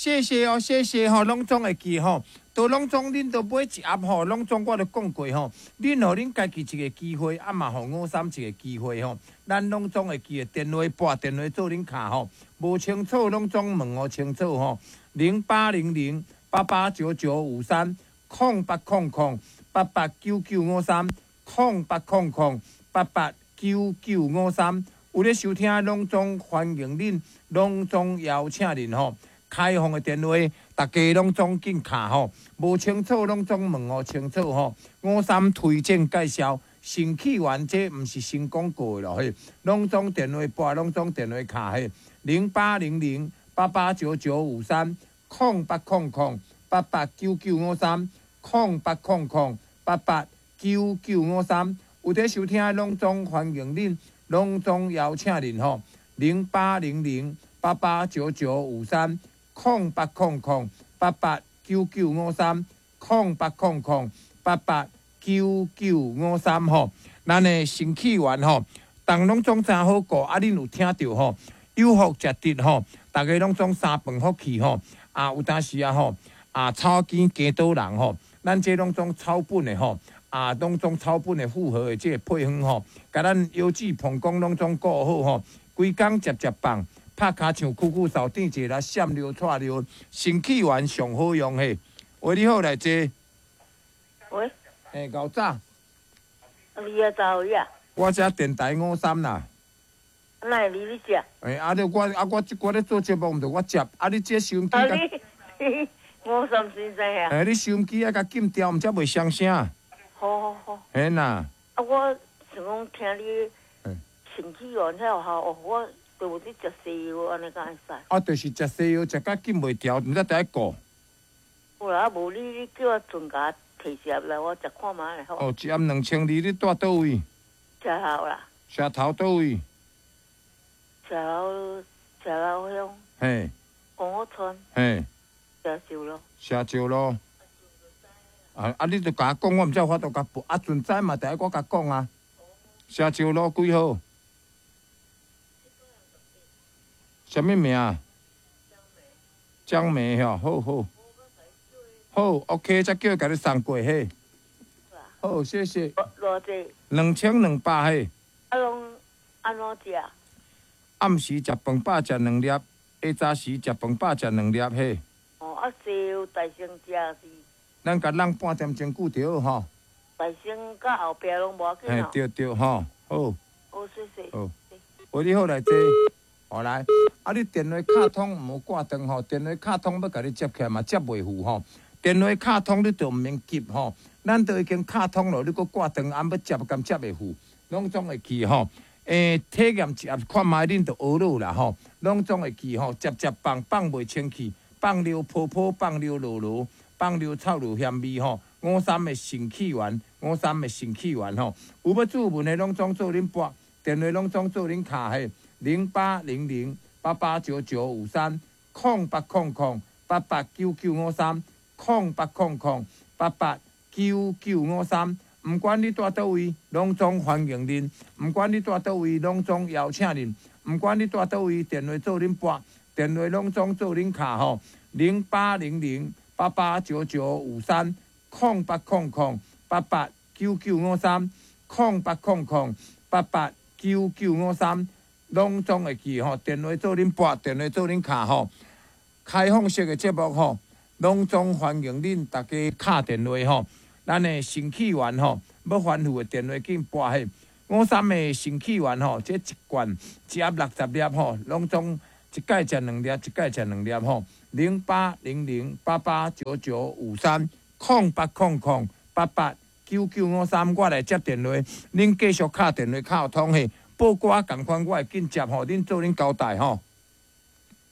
謝謝哦，謝謝吼，攏總會記吼，都攏總恁都買一盒吼，攏總我都講過吼，恁予恁家己一個機會，啊嘛予五三一個機會吼，咱攏總會記得電話撥電話做恁敲吼，無清楚攏總問予清楚吼，0800889953，0800889953，0800889953，有咧收聽攏總歡迎恁，攏總邀請恁吼。開放的電話，逐家攏總緊敲吼，無清楚攏總問予清楚吼。五三推薦介紹，腎氣丸這毋是新廣告的咯嘿，攏總電話撥，攏總電話敲嘿，0800889953，0800889953，0800889953。有佇收聽攏總歡迎恁，攏總邀請恁吼，0800889953。0800889953，0800889953吼，咱的腎氣丸吼，逐攏總真好顧，啊！恁有聽著吼？有福食得吼，逐家攏總三飯福氣吼，啊有當時啊吼，啊草根加倒人吼，咱這攏總草本的吼，啊攏總草本的複合的這個配方吼，共咱腰子膀胱攏總顧好吼，規工食食放。拍跤像酷酷掃甜一下，閃尿掣尿，腎氣丸上好用嘿。喂，你好，來坐。喂。欸，𠢕早。你也走呀？我這電台五三啦。哪會你咧接？欸，啊你我啊我這我咧做節目，毋著我接。啊你這收音機。啊你，五三先生啊。欸，你收音機愛共禁掉，毋才袂雙聲。好好好。嘿啦。啊，我想講聽你腎氣丸遐有效哦，我。有咧食西藥，按呢敢會使？啊，就是食西藥，食甲禁袂牢，毋知得愛顧。有啦，無你你叫我陣共提一盒來，我食看覓咧好。哦，一盒2200，你住佗位？石頭啦。石頭佗位？石頭，石頭鄉。嘿。公屋村。嘿。石石路。石石路。啊啊！你著共我講，我毋才有法度共報。啊，陣知嘛，得愛我共講啊。石石路幾號？啥物名？江梅吼，好好好，OK，才叫伊共你送過嘿。好，謝謝。偌濟？2200嘿。啊，攏按怎食？暗時食飯飽食兩粒，下早時食飯飽食兩粒嘿。哦，啊，西藥大聲食是？咱共弄半點鐘久著好吼。大聲佮後壁攏無要緊。嘿，對對吼，好。好，謝謝。好。喂，你好，來坐。好來，啊！你電話敲通毋好掛斷吼，電話敲通欲共你接起來嘛，接袂赴吼。電話敲通你就毋免急吼，咱都已經敲通了，你閣掛斷，按欲接敢接會赴，攏總會記吼。欸，體驗一盒看覓，恁就學落啦吼，攏總會記吼，食食放放袂清氣，放尿泡泡，放尿落落，放尿臭尿鹹味吼。五三的腎氣丸，五三的腎氣丸吼，有欲注文的攏總做恁撥，電話攏總做恁敲嘿。0800889953，0800889953，0800889953。毋管你蹛佗位，攏總歡迎恁；毋管你蹛佗位，攏總邀請恁；毋管你蹛佗位，電話做恁撥，電話攏總做恁敲吼。0800889953，0800889953，0800889953。攏總會記吼，電話做恁撥，電話做恁敲吼。開放式的節目吼，攏總歡迎恁逐家敲電話吼。咱的腎氣丸吼，欲反覆的電話緊撥嘿。五三的腎氣丸吼，這一罐一盒60粒吼，攏總一擺食兩粒，一擺食兩粒吼。0800889953，0800889953，我來接電話，恁繼續敲電話敲通嘿。報歌仝款，我會緊接吼，恁做恁交代吼。